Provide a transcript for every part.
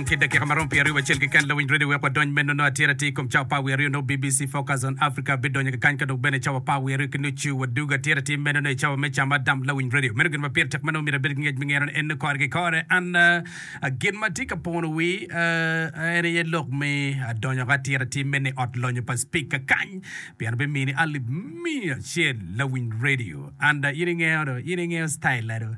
Odong ki dakika ma romo pyeraryo wacel keken lawiny redio wek wadony meno nongo atir atir i kom cawa apar wiye aryo nongo BBC Focus on Africa bidonyo kakany ka dok bene cawa apar wiye aryo ki nucu wadugo atir atir meno nongo i cawa me cam adam lawiny redio. Meno gin ma pire tek ma nongo myero abed ki ngec me ngeno ni en kore ki kore an gin ma tye ka pono wi en aye lok me adonyo ka atir atir meno i ot lonyo pa speaker kany pien bimini alip miya acel lawiny redio and in ingeyo do in ingeyo style na do.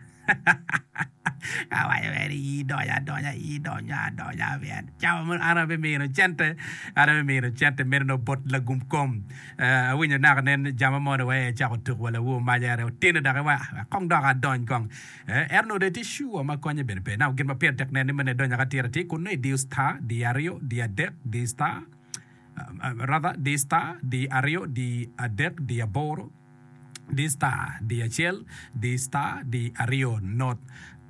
Awaco mere ni, Idonyo adonya, idonyo adonya pien cawa meno an abimino cente, an abimino cente meno nongo bot lagum kom. Eh, awinyo naka nen jama mo dong wai ecako tuko wa lawor maca ere otino dok iwaco, "Ah, wek kong dok adony kong. Eh, ento nongo dong itye sure ma konye bene pe. Now gin ma pire tek nen ni meno idonyo ka tira atir kun nongo idiyo star, diyo aryo, diyo adek, diyo star, rather, diyo star, diyo aryo, diyo adek, diyo aboro, Di star di acel di star di aryo not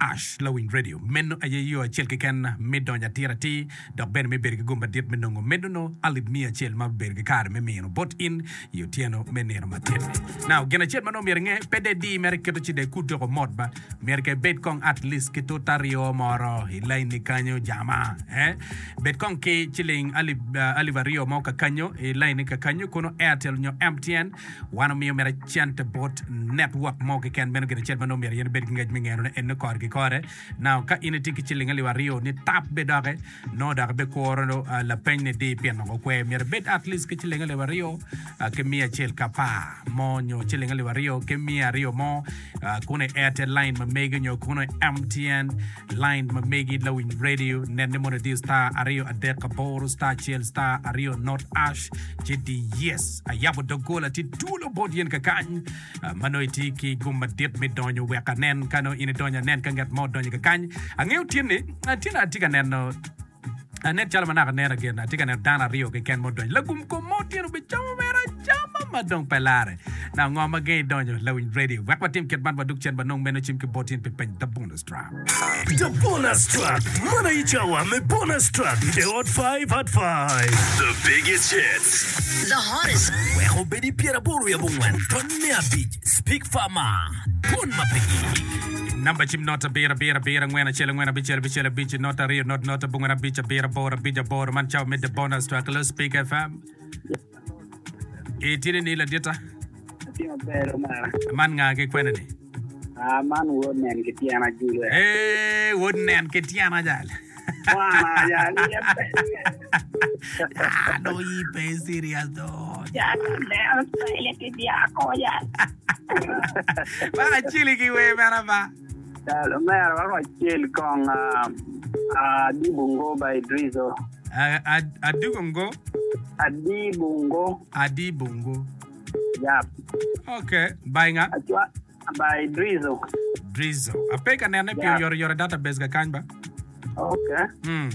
ash lawiny radio. Meno aye yo acel keken me donyo atir atir dok bene me bedo ki gum madit me nongo medono alip miya acel ma obedo ki kare me mino bot in i otyeno me nino matin-ni. Now, gin acel ma nongo myero inge, pe de di mere iketo ci de ikut doko mot ba. Myero ka ibed kong at least ki tuta aryo moro i lain ni kanyo jama. Eh? Bed kong ki ciling alip, uh, alip aryo mo kakanyo i lain ni kakanyo kono Airtel nyo MTN. Wan omiyo mere cente bot network mo keken meno gin acel ma nongo myero in ibed ki ngec me ngeno ne eno kore ki kore. Now ka in itye ki ciling alip aryo ni tap be doki nongo dok ibikuro lapeny ni di pien nongo kwer myero ibed at least ki ciling alip aryo ki miya acel ki apar mo nyo ciling alip aryo ki miya aryo mo kono i Airtel line ma megi nyo kono i MTN Line ma megi lawiny radio nen ni mono idiyo star aryo adek aboro star acel star aryo not ash ci di yes ayabo doggola tye twolo bot yen kakany ah, ma nongo itye ki gum madit me donyo wek anen ka nongo in idonyo anen ka ngat mo odonyo kakany angeyo tyeni ah, tyeni atye ka neno Anen calo ma naka aneno gin, atye ka neno dano aryo keken ma odonyo. Lagum kom mo otyeno obicamo mere acama ma dong pe lare. Now ngo ma gengi donyo lawiny radio? Wek watim kit man wadug cen wanong meno cim ki bot in pi penyo The Bonus Track. The Bonus Track, Man aye cawa me Bonus Track i Hot 5 at 5. The biggest hits. The hottest. Wek obed i pyeraboro wiye abongwen tony me abic Speak Farmer, Dwon ma pe gik. Namba cim not abiro abiro abiro angwen acel angwen abicel abicel abic not aryo not not abongwen abic abiro aboro abic aboro man cawa me the bonus track hello speak fm itye ni ladita Atye maber omera. man nga ki kwene ni Ah, man wod nen ki tyena Julio. Eh, wod nen ki tyena jal Mwana jal iye pe. Ah, dong yi pe serious do. Jal neno pele ki dyako jal. Man aceli ki wer mera ba. Jal omera wako acel kong ah, Adibungo by Idrizo. Ah, ad- Adugongo, Adibungo. Adibungo. Yap. Okay, by nga? Acwa By Drizo. Drizo. Ape ka nene pi Yeah. oyotoyot i database kakany ba? Okay. Mm.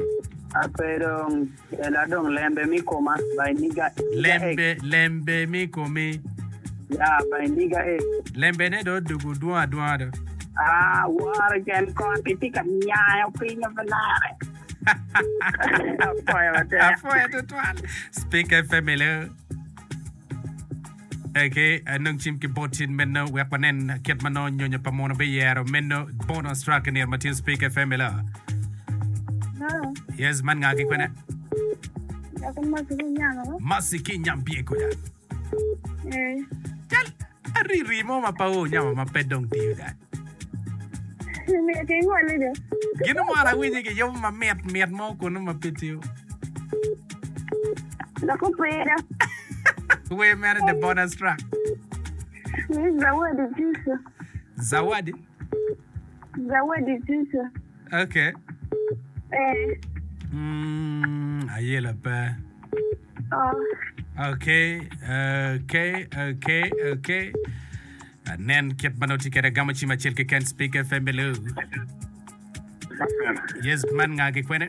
Ape dong ela dong lembe mi koma by Nigga Nigga X. Lembe, lembe mi komi. Yeah, by Nigga X. Lembe ne do dugu dwong adwonga do. Ah, woro cen kon kitye ka nyayo piny pe lare. Apoyo matek. Apoyo tutwal. Speak FM hello. Eke, anong cim ki bot tin meno wek wanen kit ma nongo nyonyo pa muno biyero meno bonus track i nino ma tin Speak FM ela. Hello. Yes, man nga ki kwene? Dako Masi ki nyamo. Masi ki nyambieko ya. Eh. Cal ariri mo ma pa o nyamo ma pe dong tiyo da. Myero kingoli do. Gino mo an awinyo ki yubo ma mit mit mo kunu ma pe tiyo. Dok opira. Wer mere the bonus track. Ni Zawadi Jusu. Zawadi. Zawadi Jusu. Okay. Eh. Mm, ayela pe. Oh. Okay, okay, okay, okay. Nen kit ma nongo tye kwede agamo cim acel keken Speak FM hello. Yes, man nga ki kwene?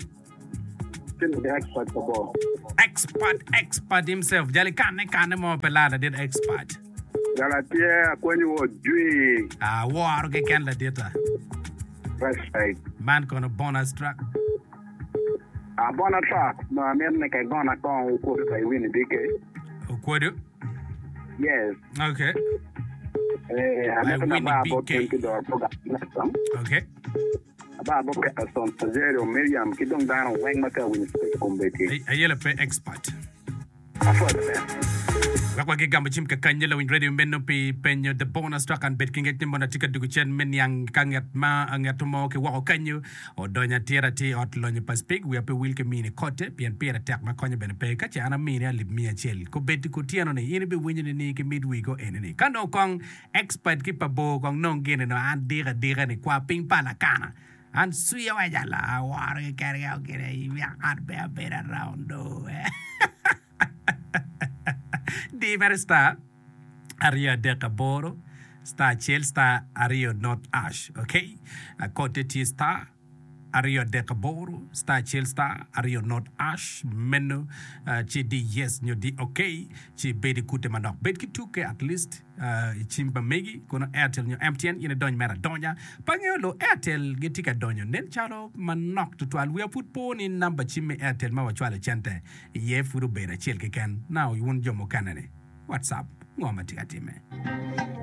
Expert pa bo. Expert, expert himself. Jali kane kane mo pe laa ladit expert. Jala tye akwenyo wo jwi. Ah, woro keken ladita. Respect. Man kono bonus track. Ah, bonus track. No, amito ni kegona kong okwodo pa iwini BK. Okwodo? Yes. Okay. Eh, By amito na Winnie bar bot BK. en ki doro program. Okay. Aba bot Peterson, Sajerio, Miriam ki dong dano weng ma tye ka winyo Speak kombeddi. Ayela pe expert. Apwoyo matek. Wek wagi gamo cim kakany lawiny radio meno pi penyo the bonus track an bed ki ngec ni mono atye ka dugo cen me niang ka nget ma ngeto mo ki woko kanyo odonyo atir atir i ot lonyo pa Speke wiya pe wil ki mini kote pien pire tek ma konyo bene pe ka ce an amini alip miya acel kobedi kutyeno ni in ibiwinyo ni ni ki mid wigo eni ni ka nongo kong Expert ki pa bor kong nong gini no an dika dika ni kwa piny pa lakana an cwiya wa jalo aworo ki kene ka gini i wek an pe abedo around do di mere star aryo adek aboro star acel star aryo not ash okay kote tye star aryo adek aboro star acel star aryo not ash meno ci di yes nyo di ok ci ibed i kute manok bed ki tuke at least i cim pa megi kono Airtel nyo MTN in idony mere adonya pe angeyo lu Airtel gitye ka donyo nen calo manok tutwal wiya pud po ni namba cim me Airtel ma wacwalo cente iye pud obedo acel keken now wun jo mukene ni what's up ngo ma tye ka time.